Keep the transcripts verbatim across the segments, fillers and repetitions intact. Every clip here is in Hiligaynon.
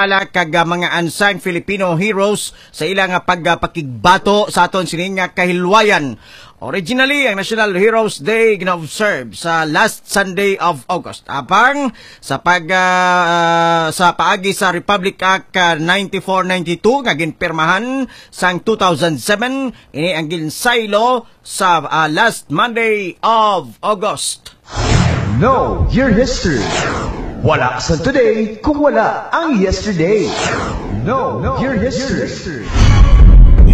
Kag, ah, mga unsung Filipino heroes sa ila nga pagpakigbato sa aton sini nga kahilwayan. Originally, ang National Heroes Day gina-observe sa last Sunday of August. Apang sa pag, ah, sa paagi sa Republic Act, ah, ninety-four ninety-two nga ginpirmahan sang two thousand seven, ini ang ginsaylo sa, ah, last Monday of August. Know your history. Wala sa today kung wala ang yesterday. Know your history.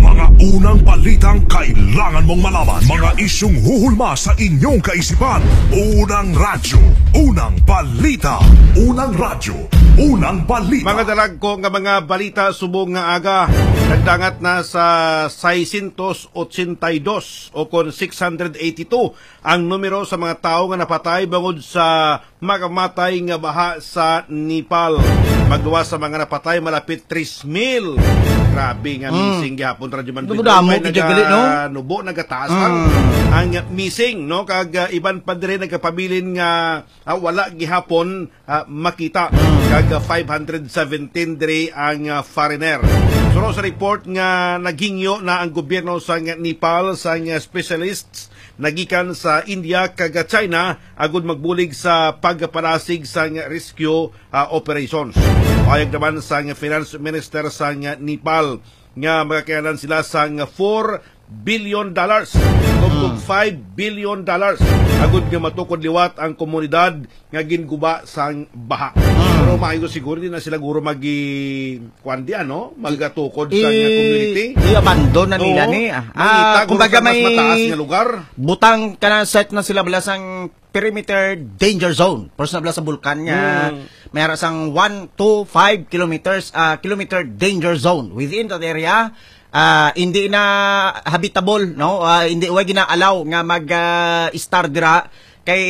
Mga unang balitang kailangan mong malaman. Mga isyung huhulma sa inyong kaisipan. Unang radyo, unang balita. Unang radyo, unang balita. Mga dalagko nga mga balita subong nga aga, nagdangat na sa seiscientos ochenta y dos o kon six hundred eighty-two ang numero sa mga tawo nga napatay bangod sa makamatay nga baha sa Nepal. Magluwas sa mga napatay, malapit tres mil. Grabe nga Mm. missing gihapon, Radyo Man Damo-damo Bidoy. May gid gali, no? Naganubo, nagataas ang, Mm. ang missing, no? Kag, ah, iban pa diri nagapabilin nga, ah, wala gihapon, ah, makita. Mm. Kag, ah, five hundred seventeen diri ang, ah, foreigner. Suno sa report nga naghingyo na ang gobyerno sa Nepal sa specialists nagikan sa India kag China agud magbulig sa pagpanasig sang rescue, ah, operations. Pahayag naman sang Finance Minister sang Nepal nga magakilanlan sila sang four billion dollars, tubtob Mm. five billion dollars, agud nga matukod liwat ang komunidad nga ginguba sang baha. Mm. Pero maayo siguro, di na sila guro magi-, kuwan di, ano? Magatukod sa I-, community. I-abandon na nila Oo. ni, ah. Mangita Ah, guro kumbaga sa mas may mataas nga lugar. Butang ka na, set na sila bala sang perimeter danger zone. Pero sa bala sa bulkan nga, Mm. may ara sang one to five kilometers, ah, kilometer danger zone. Within that area, ah, hindi na habitable, no? Ah, hindi, wa gina-allow nga mag, ah, estar dira. Kay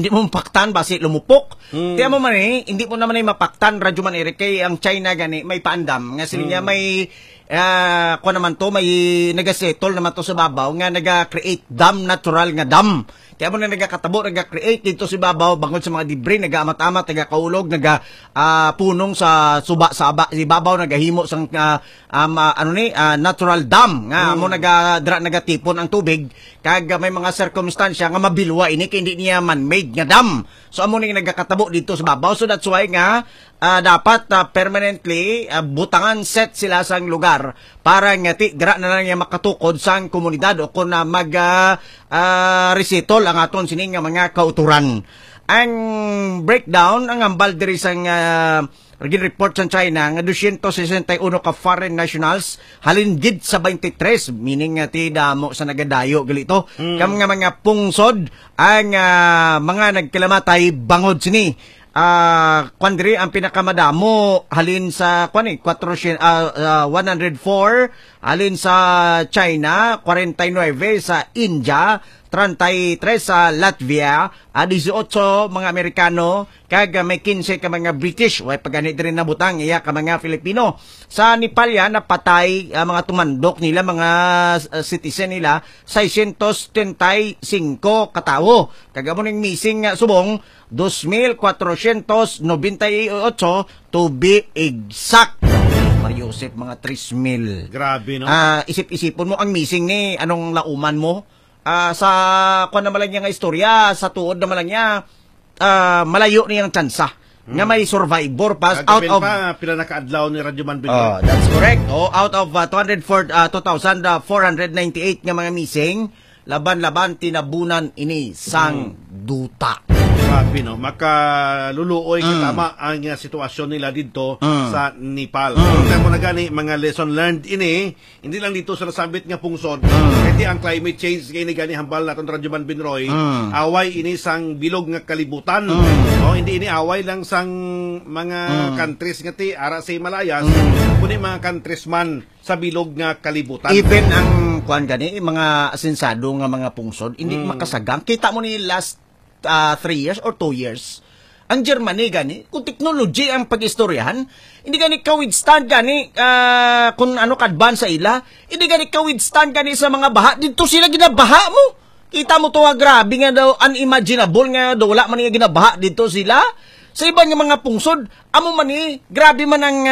hindi mo mapaktan, basi lumupok. Mm. Kaya mo man eh, hindi mo naman eh mapaktan, Radyo Man Eric, kay ang China gani, may paandam. Nga sila niya Mm. may, ah, kuwan naman to, may nagasettle naman to sa babaw, nga naga-create dam, natural nga dam. Kaya mo na nagakatabo, naga-create dito sa babaw, bangod sa mga debris, nagaamat-amat, nagakaulog, naga, ah, punong sa suba, sa aba-, sa ibabaw, nagahimo sang, ah, um, ah, ano ni, ah, natural dam, nga Mm. amo naga-, dra-, nagatipon ang tubig, kag, ah, may mga sirkumstansya nga mabilwa ini, kay hindi niya man-made nga dam. So, amo ni nagakatabo dito sa babaw. So, that's why nga, ah, dapat, ah, permanently, ah, butangan set sila sang lugar para nga ti-, dira na lang niya makatukod sang komunidad o kung na mag, ah, ah, resettle ang aton sini nga mga kauturan. Ang breakdown, ang hambal diri sang, ah, gin-report sang China nga dosyentos sesenta y uno ka foreign nationals halin gid sa twenty-three, meaning nga ti damo sa nagadayo gali to. Mm. Kam nga mga pungsod ang, ah, mga nagkalamatay bangod sini. Ah, kwan diri ang pinakamadamo halin sa, kwan eh, kwatro siyam, ah, ah, one hundred four, halin sa China, kwarenta y nuebe sa India, treinta y tres sa Latvia, ah, dieciocho mga Amerikano, kag, ah, may quince ka mga British. Way pa gani diri nabutang iya ka mga Filipino. Sa Nepal yan, napatay, ah, mga tumandok nila, mga, ah, citizen nila, seiscientos treinta y cinco ka tawo. Kag amo ning missing nga subong, dos mil kwatrocientos nobenta y ocho, to be exact. Mario Joseph, mga tres mil. Grabe, no? Ah, isip-isipon mo ang missing ni anong lauman mo. Ah, sa, kwan naman lang niya nga istorya, sa tuod naman lang niya, ah, malayo niyang tsansa nga Mm. may survivor pa Kag out kapin of pa, pila na ka adlaw ni Radyo Man Binoy. Oh, that's correct. Oh, out of, ah, two hundred four, ah, two thousand four hundred ninety-eight nga mga missing, laban-laban tinabunan ini sang Mm. duta. Grabe, no? Makaluluoy Mm. katama ang, ah, sitwasyon nila didto Mm. sa Nepal. Mm. Pero mo na gani, mga lesson learned ini, hindi lang dito sa nasambit nga pungsod. Mm. Kaya ang climate change, kaya ini gani hambal naton Radyo Man Binroy, Mm. away ini sang bilog nga kalibutan. Mm. No, hindi ini away lang sang mga Mm. countries nga ti, ara sa Himalayas, Mm. kundi mga countries man sa bilog nga kalibutan. Even ang, kuwan gani, mga asensado nga mga pungsod, hindi Mm. makasagang. Kita mo ni last, ah, three years or two years, ang Germany gani, kung technology ang pag-istoryahan, hindi gani ka-withstand gani, ah, kung ano ka-advance sa ila, hindi gani ka-withstand gani sa mga baha. Dito sila ginabaha mo. Kita mo to nga grabe nga daw, unimaginable nga daw, wala man nga ginabaha dito sila. Sa iban nga mga pungsod, amo man ni, grabe man ang, ah,